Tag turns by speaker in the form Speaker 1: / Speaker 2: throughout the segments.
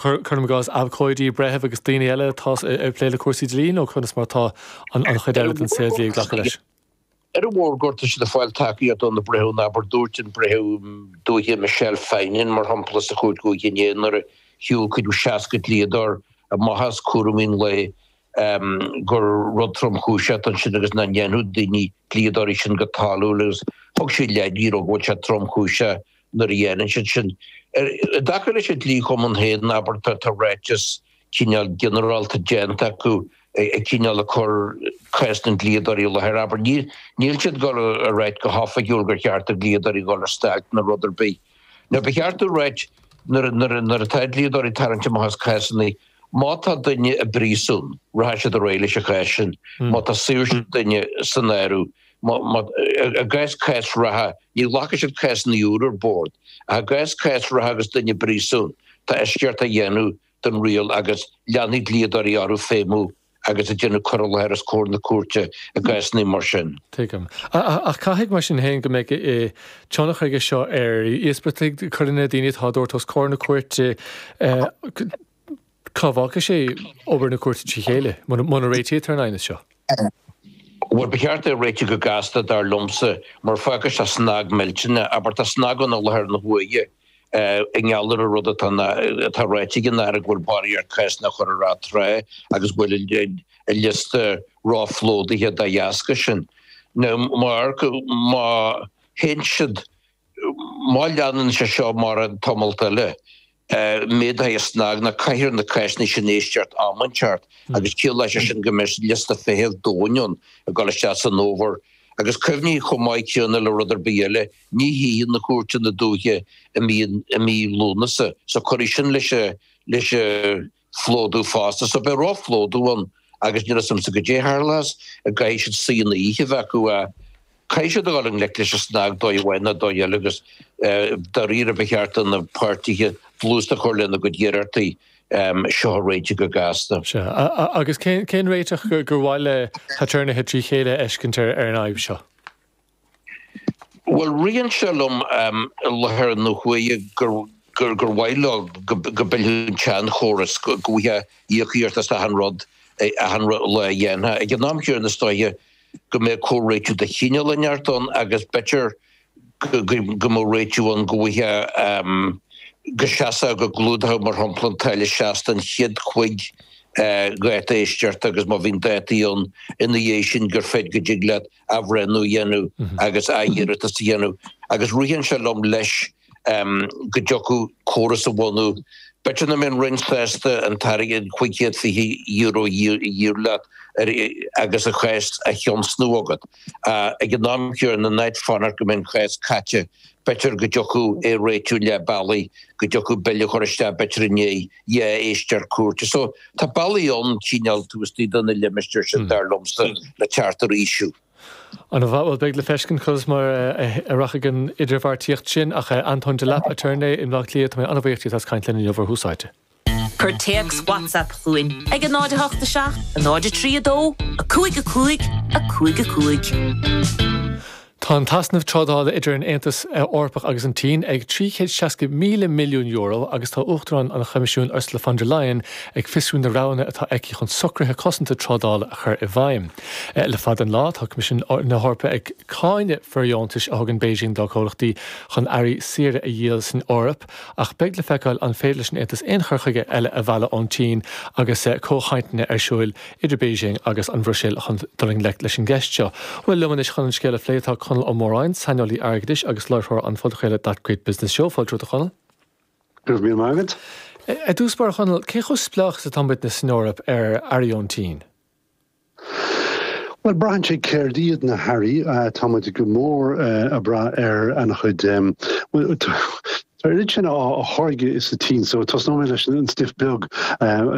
Speaker 1: Cuirim i gcás abhcóidí, breithimh agus daoine eile atá ag plé le cúrsaí dlí nó conas mar atá an chuid eile den saol dlí ag glacadh leis?
Speaker 2: Ar an mhórgóir tá siad ag fáil tacaíocht ó na breithiúna, abair dúirt an breitheamh dúiche Michelle Finan mar shampla sa Chúirt Dhúiche inné nuair a shiúil cuid 60 dlíodóir amach as cúraimí an lae gur rud tromchúiseach atá ansin agus nach ndéanfadh daoine, dlíodóirí sin go toiliúil agus thug sí leid you know go bhfuil sé tromchúiseach nuair a dhéanann siad sin. I dtaca leis an dlí-chumann féin, abair, tá ráiteas cineál ginearálta déanta acu ag cineál ag cur cás na ndlíodóirí i láthair. Abair, níl siad ag dul a ráit go hoifigiúil gur cheart do dhlíodóirí dul ar stailc nó rud ar bith. Now ba cheart a ráit nuair atá dlíodóirí ag tarraingt amach as cásanna, má tá duine i bpríosún, rachaidh siad ar aghaidh leis an chás sin. Má tá saoirse duine san áireamh, i gcás cás reatha, ní ghlacfaidh siad cásanna úra ar bord, ach i gcás cás reatha agus duine i bpríosún, tá eisceacht á dhéanamh den riail agus leanfaidh dlíodóirí orthu feidhmiú agus ag déanamh cur i láthair os comhair na cúirte i gcásanna mar sin.
Speaker 1: Tuigim. Ach caithfidh, mar sin féin, go mbeidh tionchar aige seo ar íospartaigh, coireanna, daoine atá á dtabhairt os comhair na cúirte. Cá bhfágfaidh sé obair na cúirte trí chéile, muna réitítear an aighneas seo?
Speaker 2: Bhuel, ba cheart é a réiteach go gasta, dar liomsa, mar fágfaidh sé snag millteanach. Abair, tá snag ann i láthair na huaire i ngeall ar an rud atá atá ráite ag an Aire go bhfuil barraíocht cásanna á chur ar atráth agus go bhfuil an liosta róphlódaithe dá dheasca sin. Now, má má théann siad, má leanann sé seo mórán tamalt eile, méadóidh an snag nó caithfear na cásanna sin a éisteacht am inteacht agus ciallóidh sé sin go mbeidh liosta feithimh domhain ann ag dul isteach san fhómhar. Agus cuimhnigh chomh maith céanna le rud ar bith eile, ní shuífidh na cúirteanna dúiche i mí i mí Lúnasa so cuirfidh sin leis an leis an phlódú fosta. So beidh róphlódú ann agus níl a fhios a'msa goidé a tharlós, an gcaithfidh siad suíonna oíche a bheith acu ach caithfidh siad a dhul i ngleic leis an snag dóigh amháin nó dóigh eile agus dáiríre ba cheart do na páirtithe dlús a chur lena gcuid iarrachtaí seo a réiteach go gasta.
Speaker 1: Sea. Agus cén réiteach gur mhaith le haturnaetha trí chéile a fheiscint ar an fhadhb seo?
Speaker 2: Bhuel, ritheann sé liom i láthair na huaire gur gur mhaith leo go bpillfeadh an tseanchóras, go bhfaighfeá íocaíocht as achan rud, achan lá a dhéanfá. Ag an am chéanna is dóiche go mbeadh comhréitiú de chineál inteacht ann agus b'fhéidir go mbeadh réitiú ann go bhfaighfeá, go seasfadh, go gclúdódh mar shampla an táille seasta an chéad chúig dháta éisteachta agus má bhíonn dátaí ann ina dhiaidh sin gur féidir go dtig leat athbhreithniú a dhéanamh agus athiarratas a dhéanamh agus ritheann sé liom leis go dtiocfadh córas a bhunú. B'fhéidir nach mbeadh an Roinn sásta an t-airgead €520 a iarraidh leat agus an chás á thionscnamh agat. Ag an am céanna, in áit fanacht go mbeidh an cás caite, b'fhéidir go dtiocfadh é a réitiú leath bealaigh, go dtiocfadh bille a chur isteach b'fhéidir i ndiaidh dhá éisteacht cúirte. So, tá bealaí ann cineál taobh istigh de na limistéir sin, dar liomsa, le teacht ar fhaoiseamh.
Speaker 1: Ana mhaith, bhuel beidh le feiscint conas mar a rachaidh an idirbheartaíocht sin ach Antóin Delap, aturnae i mBleá Cliath, tá mé an-bhuíoch díot as caint linn inniu ar Thús Áite.
Speaker 3: Cuir téacs WhatsApp chugainn ag 0 8 7 0 3 2 5 5 5 5.
Speaker 1: Tá an t-easnamh trádála idir an Aontas Eorpach agus an tSín ag €360,000 milliún agus tá Uachtarán an Choimisiúin Ursula von der Leyen ag fiosrú na roghanna atá aici chun socruithe cosanta trádála a chur i bhfeidhm. Le fada an lá tá Coimisiún na hEorpa ag cáineadh fóirdheontais a thugann Beijing dá comhlachtaí chun earraí saora a dhíol san Eoraip ach beidh le feiceáil an féidir leis an Aontas aon chur chuige eile a mhealladh ón tSín agus comhchainteanna ar siúil idir Beijing agus an Bhruiséil chun dul i ngleic leis an gceist seo. Bhuel, liom anois chun an scéal a phlé tá Conall Ó Móráin, saineolaí airgeadais agus láithreoir an phodchraoladh That Great Business Show. Fáilte romhat a Chonaill.
Speaker 4: Go raibh míle maith agat.
Speaker 1: I dtús báire, a Chonaill, cé chomh spleách is atá muidne san Eoraip ar earraí ón tSín?
Speaker 4: Bhuel, braitheann sé céard iad na hearraí. Tá muid go mór ag brath ar an-chuid, bhuel, tá oiread sin á tháirgeadh sa tSín so tosnóidh mé leis an stuif beag,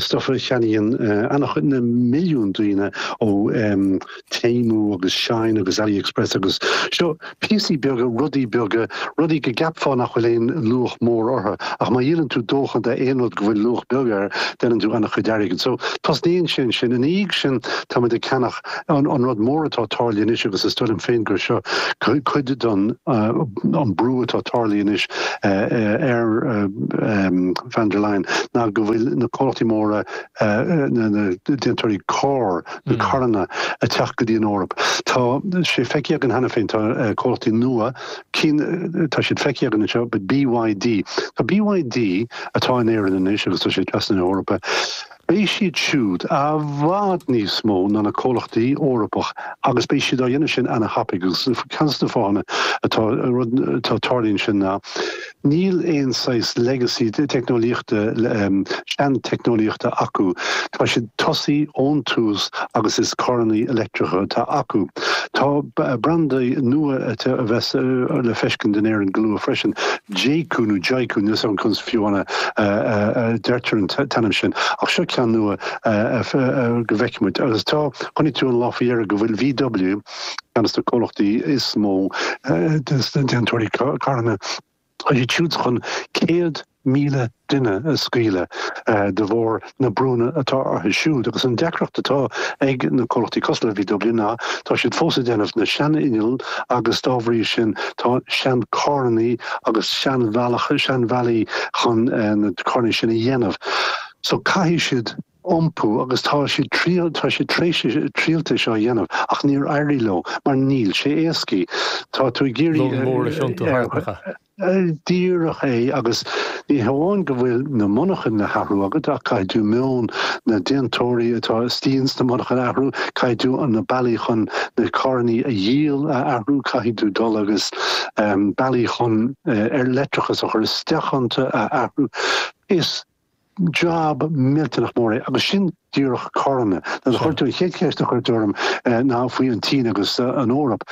Speaker 4: stuif a cheannaíonn an-chuid, na milliúin daoine ó Temu agus Shein agus AliExpress agus seo píosaí beaga, rudaí beaga, rudaí go gceapfá nach bhfuil aon luach mór orthu, ach má dhíolann tú dóchan de aon rud go bhfuil luach beag air, déanann tú an-chuid airgid. So, tosnaíonn sé ansin. Ina dhiaidh sin, tá muid ag ceannach an rud mór atá tarlaithe anois agus is dóigh liom féin gur seo cuid den an brú atá tarlaithe anois. Ar van der Leyen ná go bhfuil na comhlachtaí móra, na déantóirí carr, na carranna, ag teacht go dtí an Eoraip. Tá sé feicthe againn cheana féin, tá comhlachtaí nua, cinn, tá siad feicthe againn anseo, but BYD, tá BYD atá in Éirinn anois agus tá sé trasna na hEorpa, Beidh siad siúd i bhfad níos mó ná na comhlachtaí Eorpach agus beidh siad á dhéanamh sin ana-thapaidh agus ceann de na fáthanna atá rud atá tarlaíonn sin ná níl aon saghas legacy teicneolaíochta sean-teicneolaíochta acu. Tá siad tosaí ón tús agus is carrannaí leictreacha atá acu. Tá brandaí nua a bheas le feiscint in Éirinn go luath freisin. Jaecoo nó Jaiku, níl 'fhios agam conas fiú a deirtear an t-ainm sin, ach seo ceann nua go bhfeicfidh muid. Agus tá, chonaic tú an lá faoi dheireadh go bhfuil VW, ceann de na comhlachtaí is mó de na déantóirí carranna, tá siad siúd chun 100,000 duine a scaoileadh de bharr na brúnna atá orthu siúd. Agus an deacracht atá ag na comhlachtaí cosúil le VW ná tá siad fós ag déanamh na sean-inneall agus dá bhrí sin tá sean-carrannaí agus sean-bhealach, sean-bhealaí chun na carrannaí sin a dhéanamh. So caithfidh siad iompú agus tá siad triail, tá siad tar éis triailte seo a dhéanamh ach níor éirigh leo mar níl sé éascaí. Tá tú ag iarraidh.
Speaker 1: Long mór a thiontú thart, nach ea?
Speaker 4: Díreach é, agus ní hamháin go bhfuil na monarchain le hathrú agat, ach caithfidh tú meon na déantóirí atá istigh ins na monarchain a athrú, caithfidh tú na bealaí chun na carrannaí a dhíol a athrú, caithfidh tú dul agus bealaí chun leictreachas a chur isteach iontu a athrú. Is job millteanach mór é, agus sin díreach carranna. Nuair a chuir tú an chéad cheist a chuir tú orm ná faoi an tSín agus an Eoraip.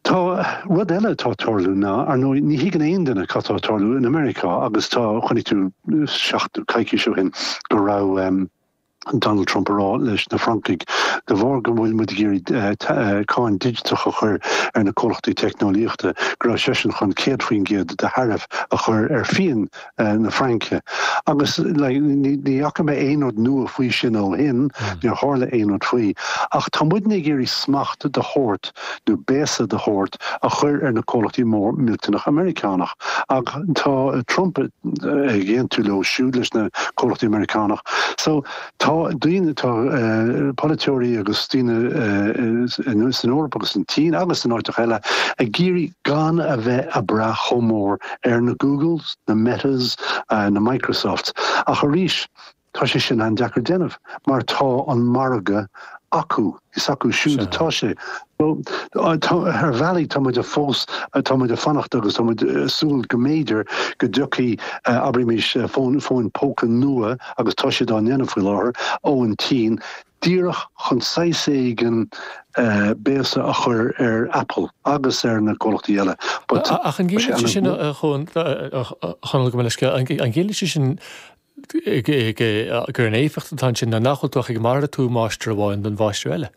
Speaker 4: Tá rud eile atá ag tarlú ná, ar ndóigh, ní thuigeann aon duine cad tá ag tarlú in Meiriceá agus tá, chonaic tú seachtain, coicís ó shin go raibh Donald Trump ag rá leis na Francaigh, de bharr go bhfuil muid ag iarraidh cáin digiteach a chur ar na comhlachtaí teicneolaíochta, go raibh seisean chun 100% de tharaif a chur ar fíon na Fraince. Agus like ní fhaca mé aon rud nua faoi sin ó shin, níor tharla aon rud faoi. Ach tá muidne ag iarraidh smacht de shórt nó béasa de shórt a chur ar na comhlachtaí mór millteanach Meiriceánach. Ach tá Trump ag aontú leo siúd, leis na comhlachtaí Meiriceánach. So tá daoine, tá polaiteoirí agus daoine san Eoraip agus san tSín agus in áiteacha eile ag iarraidh gan a bheith a' brath chomh mór ar na Googles, na Metas, na Microsofts. Ach arís, tá sé sin an-deacair déanamh mar tá an margadh acu, is acu siúd atá sé. So, tá, ar bhealaí tá muid fós, tá muid ag fanacht agus tá muid ag súil go mb'fhéidir go dtiocfaidh, abraimis, fóin, fóin póca nua agus tá siad á ndéanamh faoi láthair, ón tSín, díreach chun saghas éigin béasa a chur ar Apple agus ar na comhlachtaí eile.
Speaker 1: But Ach an gciallaíonn sé sin, a Chonaill, gabh mo leithscéal, an gciallaíonn sé sin gur an éifeacht atá ansin ná nach bhfuil tú ach ag malartú máistir amháin don mháistir eile?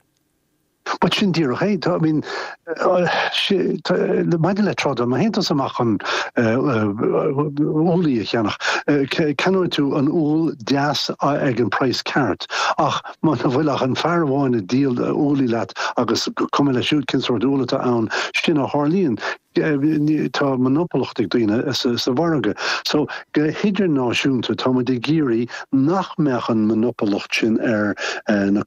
Speaker 4: But sin díreach é. Tá, I mean, maidir le trádáil, má théann tusa amach chun úllaí a cheannach, ceannóidh tú an úll deas ag an praghas ceart, ach muna bhfuil ach an fear amháin ag díol úllaí leat agus cuma leis siúd cén sórt úll atá ann, sin a tharlaíonn. Tá monopolacht ag daoine sa mhargadh. So, go hidirnáisiúnta, tá muid ag iarraidh nach mbeadh an monopolacht sin ar na,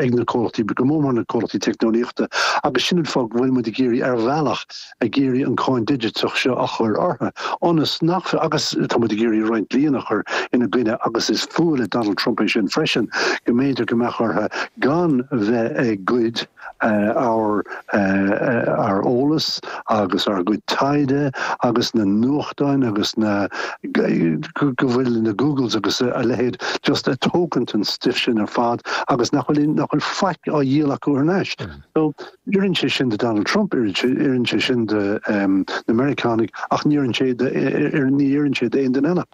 Speaker 4: ag na comhlachtaí, go mór mór na comhlachtaí teicneolaíochta, agus sin an fáth go bhfuil muid ag iarraidh, ar bhealach, ag iarraidh an cáin digiteach seo a chur orthu, ionas nach, agus tá muid ag iarraidh roinnt dlíonna a chur ina gcoinne, agus is fuath le Donald Trump é sin freisin, go mb'fhéidir go mbeadh orthu gan bheith ag goid. ár ár eolas agus ár gcuid taighde agus na nuachtáin agus na go bhfuil na Googles agus a leithéid just ag tógaint an stuif sin ar fad agus nach bhfuil nach bhfuil faic á dhíol acu thar n-ais. So oireann sé sin do Donald Trump, oireann sé sin do na Meiriceánaigh ach ní oireann sé ní oireann sé d'aon duine eile.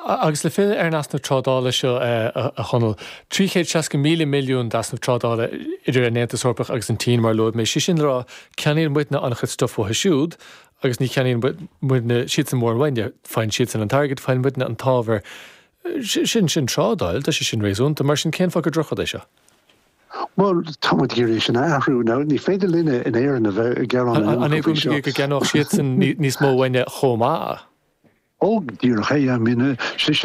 Speaker 1: Agus le filleadh ar an easnamh trádála seo, a Chonaill, 360,000 milliún d'easnamh trádála idir an Aontas Eorpach agus an tSín, mar a luaigh mé, sé sin le rá, ceannaíonn muidne an-chuid stuif uathu siúd agus ní cheannaíonn muidne siadsan mórán uainne. Faigheann siadsan an t-airgead, faigheann muidne an t-ábhar. Sin, sin trádáil, tá sé sin réasúnta. Mar sin, cén fáth gur drochrud é seo?
Speaker 4: Bhuel, tá muid ag iarraidh é sin a athrú. Now, ní féidir linne in Éirinn a bheith ag gearán an
Speaker 1: iomarca faoi seo. An é go gceannódh siadsan níos mó uainne chomh maith?
Speaker 4: Ó, díreach é, I mean, sé sin.